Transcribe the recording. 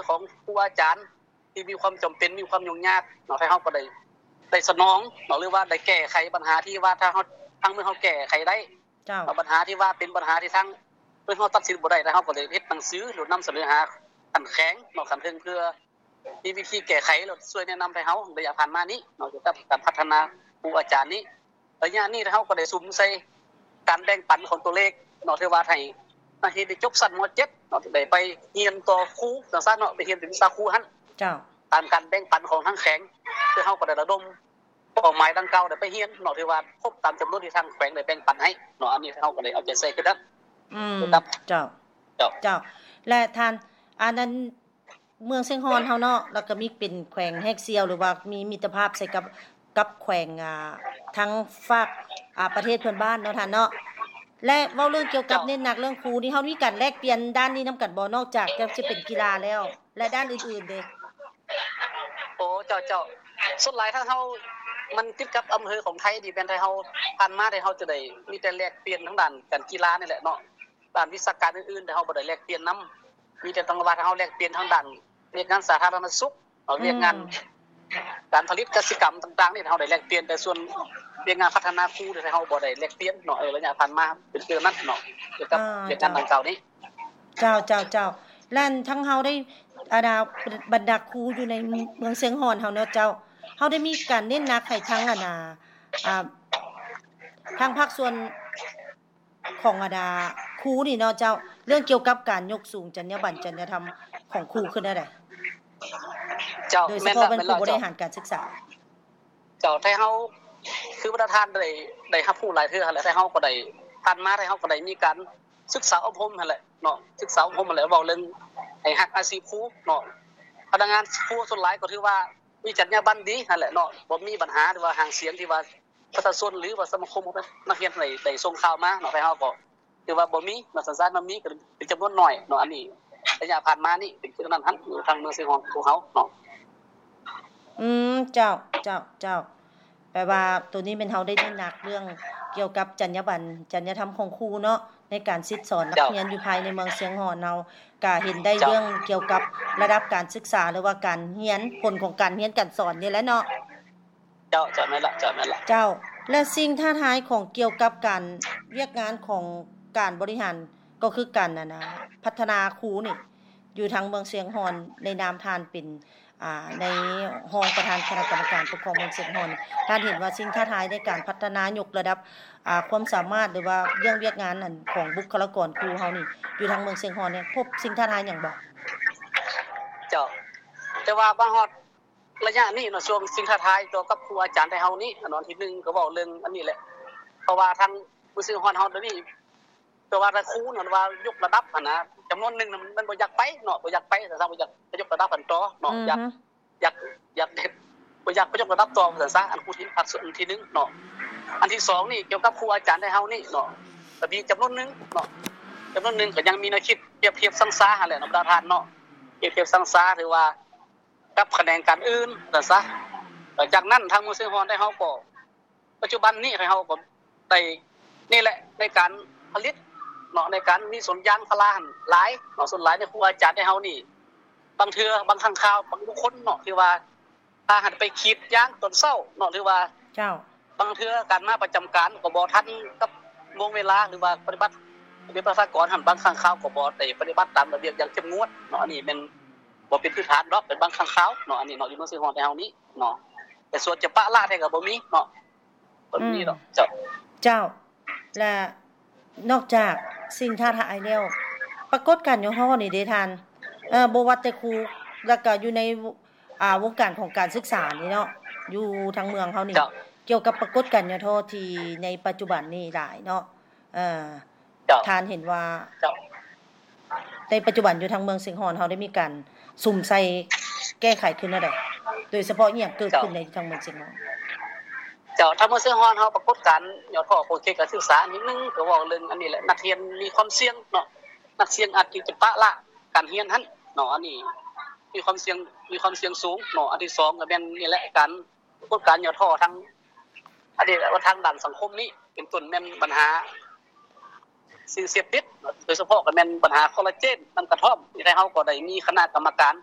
ຂອງຄູອາຈານທີ່ມີຄວາມຈຳເປັນ ມີຄວາມຫຍຸ້ງຍາກເນາະ ທາງເຮົາກໍໄດ້ ໄດ້ສະໜອງເນາະ ຫຼືວ່າໄດ້ແກ້ໄຂບັນຫາທີ່ວ່າທາງເຮົາ ທາງເມືອງເຮົາແກ້ໄຂໄດ້ ເຈົ້າ ເນາະ ບັນຫາທີ່ວ່າເປັນບັນຫາທີ່ທາງເມືອງເຮົາຕັດສິນບໍ່ໄດ້ ທາງເຮົາກໍໄດ້ເຮັດໜັງສື ຫຼືນຳສະເໜີຫາຂັ້ນແຂວງເນາະ ຂັ້ນເທິງ ເພື່ອມີວິທີແກ້ໄຂ ແລ້ວຊ່ວຍແນະນຳໃຫ້ເຮົາ ໄລຍະຜ່ານມານີ້ເນາະ ກ່ຽວກັບການພັດທະນາຄູອາຈານນີ້. ໄລຍະນີ້ເຮົາກໍໄດ້ສຸມໃສ່ການແບ່ງປັນຂອງຕົວເລກເນາະ ທີ່ວ່າໃຫ້ນັກຮຽນທີ່ຈົບຊັ້ນ ມ.ເຈັດ ເນາະ ໄດ້ໄປຮຽນຕໍ່ຄູ ຈັ່ງຊັ້ນເນາະ ໄປຮຽນເປັນວິຊາຄູຫັ້ນ ເຈົ້າ ຕາມການແບ່ງປັນຂອງທາງແຂວງ ເຊິ່ງເຮົາກໍໄດ້ລະດົມເປົ້າໝາຍດັ່ງກ່າວໄດ້ໄປຮຽນເນາະ ຖືວ່າຄົບຕາມຈຳນວນທີ່ທາງແຂວງໄດ້ແບ່ງປັນໃຫ້ເນາະ ອັນນີ້ເຮົາກໍໄດ້ເອົາໃຈໃສ່ຄືກັນ ອືມ ເຈົ້າ ເຈົ້າ ເຈົ້າ ແລະທ່ານ ອັນນັ້ນ ເມືອງຊຽງຮ່ອນເຮົາເນາະ ແລ້ວກໍມີເປັນແຂວງແຮກສ່ຽວ ຫຼືວ່າມີມິດຕະພາບໃສ່ກັບ ກັບແຂວງ ອ່າ ທາງຟາກ ອ່າ ປະເທດເພື່ອນບ້ານເນາະທ່ານເນາະ ແລະເວົ້າເລື່ອງກ່ຽວກັບ ເຈົ້າ ເນັ້ນໜັກເລື່ອງຄູນີ້ ເຮົາມີການແລກປ່ຽນດ້ານນີ້ນຳກັນບໍ່ ນອກຈາກຈະ ຈະເປັນກິລາແລ້ວ ແລະດ້ານອື່ນໆເດ? ໂອ້ ເຈົ້າ ເຈົ້າ ສ່ວນຫຼາຍທາງເຮົາ ມັນຕິດກັບອຳເພີຂອງໄທນີ້ ແມ່ນໄທເຮົາ ຜ່ານມາໄທເຮົາຈະໄດ້ມີແຕ່ແລກປ່ຽນທາງດ້ານການກິລານີ້ແຫຼະເນາະ ດ້ານວິຊາການອື່ນໆ ແຕ່ເຮົາບໍ່ໄດ້ແລກປ່ຽນນຳ ມີແຕ່ທາງວ່າເຮົາແລກປ່ຽນທາງດ້ານວຽກງານສາທາລະນະສຸກເນາະ ອືມ ວຽກງານການຜະລິດກະສິກຳຕ່າງໆ ນີ້ເຮົາໄດ້ແລກປ່ຽນ ແຕ່ສ່ວນວຽກງານພັດທະນາຄູນີ້ເຮົາບໍ່ໄດ້ແລກປ່ຽນເນາະ ເອີ ໄລຍະຜ່ານມາເປັນຄືນັ້ນເນາະ ກ່ຽວກັບ ອ່າ ວຽກງານ ເຈົ້າ ດັ່ງກ່າວນີ້. ເຈົ້າ ເຈົ້າ ເຈົ້າ ແລະທາງເຮົາໄດ້ ອັນນ່າ ບັນດາຄູຢູ່ໃນເມືອງຊຽງຮ່ອນເຮົາເນາະເຈົ້າ ເຮົາໄດ້ມີການເນັ້ນໜັກໃຫ້ທາງ ອັນນ່າ ອ່າ ທາງພາກສ່ວນ ຂອງບັນດາຄູນີ້ເນາະເຈົ້າ ເລື່ອງກ່ຽວກັບການຍົກສູງຈັນຍາບັນ ຈັນຍາທຳຂອງຄູຄືແນວໃດ? ເຈົ້າ ໂດຍສະເພາະແມ່ນ ແມ່ນແລ້ວ ຜູ້ບໍລິຫານການສຶກສາ. ເຈົ້າ ໄທເຮົາ ຄືບັນດາທ່ານໄດ້ ໄດ້ຮັບຮູ້ຫຼາຍເທື່ອຫັ້ນແຫຼະ ໄທເຮົາກໍໄດ້ ຜ່ານມາໄທເຮົາກໍໄດ້ມີການສຶກສາອົບຮົມຫັ້ນແຫຼະເນາະ ສຶກສາອົບຮົມຫັ້ນແຫຼະ ເວົ້າເລື່ອງໃຫ້ຮັກອາຊີບຄູເນາະ ພະນັກງານຄູສ່ວນຫຼາຍກໍຖືວ່າມີຈັນຍາບັນດີຫັ້ນແຫຼະເນາະ ບໍ່ມີບັນຫາ ຫຼືວ່າຫາງສຽງທີ່ວ່າ ປະຊາຊົນ ຫຼືວ່າສະມາຄົມຂອງນັກຮຽນໄດ້ ໄດ້ສົ່ງຂ່າວມາເນາະ ແຕ່ເຮົາກໍຖືວ່າບໍ່ມີເນາະ ສັນຊາດມັນມີກໍເປັນຈຳນວນໜ້ອຍເນາະ ອັນນີ້ໄລຍະຜ່ານມານີ້ເປັນຄືນັ້ນຫັ້ນ ຢູ່ທາງເມືອງຊຽງຮ່ອນຂອງເຮົາເນາະ. ອືມ ເຈົ້າ ເຈົ້າ ເຈົ້າ ແປວ່າໂຕນີ້ແມ່ນເຮົາໄດ້ເນັ້ນໜັກເລື່ອງກ່ຽວກັບຈັນຍາບັນ ຈັນຍາທຳຂອງຄູເນາະ ໃນການສິດສອນນັກຮຽນຢູ່ພາຍໃນເມືອງຊຽງຮ່ອນເຮົາ ກະເຫັນໄດ້ເລື່ອງກ່ຽວກັບລະດັບການສຶກສາ ຫຼືວ່າການຮຽນ ຜົນຂອງການຮຽນການສອນນີ້ແຫຼະເນາະ. ເຈົ້າ ເຈົ້າ ແມ່ນລະ ເຈົ້າ ແມ່ນລະ ເຈົ້າ ແລະສິ່ງທ້າທາຍຂອງ ກ່ຽວກັບການ ວຽກງານຂອງການບໍລິຫານ ກໍຄືການ ອັນນ່າ ພັດທະນາຄູນີ້ ຢູ່ທາງເມືອງຊຽງຮ່ອນ ໃນນາມທ່ານເປັນ ອ່າ ໃນຮອງປະທານຄະນະກຳມະການປົກຄອງເມືອງຊຽງຮ່ອນ ທ່ານເຫັນວ່າສິ່ງທ້າທາຍໃນການພັດທະນາຍົກລະດັບ ອ່າ ຄວາມສາມາດ ຫຼືວ່າເລື່ອງວຽກງານ ອັນ ຂອງບຸກຄະລາກອນຄູເຮົານີ້ ຢູ່ທາງເມືອງຊຽງຮ່ອນນີ້ ພົບສິ່ງທ້າທາຍຫຍັງບໍ່? ເຈົ້າ ແຕ່ວ່າມາຮອດ ໄລຍະນີ້ເນາະ ຊ່ວງສິ່ງທ້າທາຍຕໍ່ກັບຄູອາຈານໄທເຮົານີ້ ອັນທີໜຶ່ງກໍເວົ້າເລື່ອງອັນນີ້ແຫຼະ ເພາະວ່າທາງເມືອງຊຽງຮ່ອນເຮົາດຽວນີ້ ແຕ່ວ່າຖ້າຄູນັ້ນວ່າຍົກລະດັບຫັ້ນນະ ຈຳນວນໜຶ່ງມັນບໍ່ຢາກໄປເນາະ ບໍ່ຢາກໄປ ແຕ່ຖ້າບໍ່ຢາກໄປຍົກລະດັບຫັ້ນຕໍ່ເນາະ ຢາກ ຢາກ ຢາກເຮັດ ບໍ່ຢາກໄປຍົກລະດັບຕໍ່ວ່າຊັ້ນຊະ ອັນຄູທີ່ ອັນທີໜຶ່ງເນາະ ອັນທີສອງນີ້ກ່ຽວກັບຄູອາຈານໄທເຮົານີ້ເນາະ ກໍມີຈຳນວນໜຶ່ງເນາະ ຈຳນວນໜຶ່ງກໍຍັງມີແນວຄິດປຽບທຽບຊັງຊາຫັ້ນແຫຼະເນາະ ບັນດາທ່ານເນາະ ປຽບທຽບຊັງຊາ ຫຼືວ່າ ກັບຂະແໜງການອື່ນວ່າຊັ້ນຊະ ຫຼັງຈາກນັ້ນທາງເມືອງຊຽງຮ່ອນໄທເຮົາກໍ ປັດຈຸບັນນີ້ໄທເຮົາກໍໄດ້ນີ້ແຫຼະ ໃນການຜະລິດເນາະ ໃນການມີສວນຢາງພາລາຫັ້ນຫຼາຍເນາະ ສ່ວນຫຼາຍໃນຄູອາຈານໄທເຮົານີ້ ບາງເທື່ອບາງຄັ້ງຄາວບາງບຸກຄົນເນາະ ທີ່ວ່າ ພາກັນໄປຂີດຢາງຕອນເຊົ້າເນາະ ຫຼືວ່າ ເຈົ້າ ບາງເທື່ອການມາປະຈຳການກໍບໍ່ທັນກັບໂມງເວລາ ຫຼືວ່າປະຕິບັດ ລະບຽບປະຊາກອນຫັ້ນ ບາງຄັ້ງຄາວກໍບໍ່ໄດ້ປະຕິບັດຕາມລະບຽບຢ່າງເຂັ້ມງວດເນາະ ອັນນີ້ແມ່ນບໍ່ເປັນພື້ນຖານດອກ ເປັນບາງຄັ້ງຄາວເນາະ ອັນນີ້ເນາະ ຢູ່ເມືອງຊຽງຮ່ອນແຖວເຮົານີ້ເນາະ ແຕ່ສ່ວນຈະປະລະແທ້ກໍບໍ່ມີເນາະ ບໍ່ມີດອກ ອືມ ເຈົ້າ ເຈົ້າ ແລະ ນອກຈາກສິ່ງທ້າທາຍແລ້ວ ປາກົດການຫຍໍ້ທໍ້ນີ້ເດທ່ານ ເອີ ບໍ່ວ່າແຕ່ຄູ ແລ້ວກະຢູ່ໃນ ອ່າ ວົງການຂອງການສຶກສານີ້ເນາະ ຢູ່ທາງເມືອງເຮົານີ້ ເຈົ້າ ກ່ຽວກັບປາກົດການຫຍໍ້ທໍ້ທີ່ໃນປັດຈຸບັນນີ້ຫຼາຍເນາະ ເອີ ເຈົ້າ ທ່ານເຫັນວ່າ ເຈົ້າ ໃນປັດຈຸບັນຢູ່ທາງເມືອງຊຽງຮ່ອນເຮົາໄດ້ມີການສຸມໃສ່ແກ້ໄຂຄືແນວໃດ? ໂດຍສະເພາະອີ່ຫຍັງເກີດຂຶ້ນໃນທາງເມືອງຊຽງຮ່ອນ? ເຈົ້າ ທາງເມືອງຊຽງຮ່ອນເຮົາປາກົດການຫຍໍ້ທໍ້ຂອງເຂດການສຶກສາ ອັນທີໜຶ່ງກໍເວົ້າເລື່ອງອັນນີ້ແຫຼະ ນັກຮຽນມີຄວາມສ່ຽງເນາະ ນັກຮຽນອາດຈະປະລະການຮຽນຫັ້ນເນາະ ອັນນີ້ມີຄວາມສ່ຽງ ມີຄວາມສ່ຽງສູງເນາະ ອັນທີສອງກໍແມ່ນນີ້ແຫຼະ ການ ປາກົດການຫຍໍ້ທໍ້ທາງ ອັນນີ້ແຫຼະວ່າທາງດ້ານສັງຄົມນີ້ ເປັນຕົ້ນແມ່ນບັນຫາສິ່ງເສບຕິດ ໂດຍສະເພາະກໍແມ່ນບັນຫາຄໍລາເຈນ ນ້ຳກະທ້ອມ ໃນໄທເຮົາກໍໄດ້ມີຄະນະກຳມະການ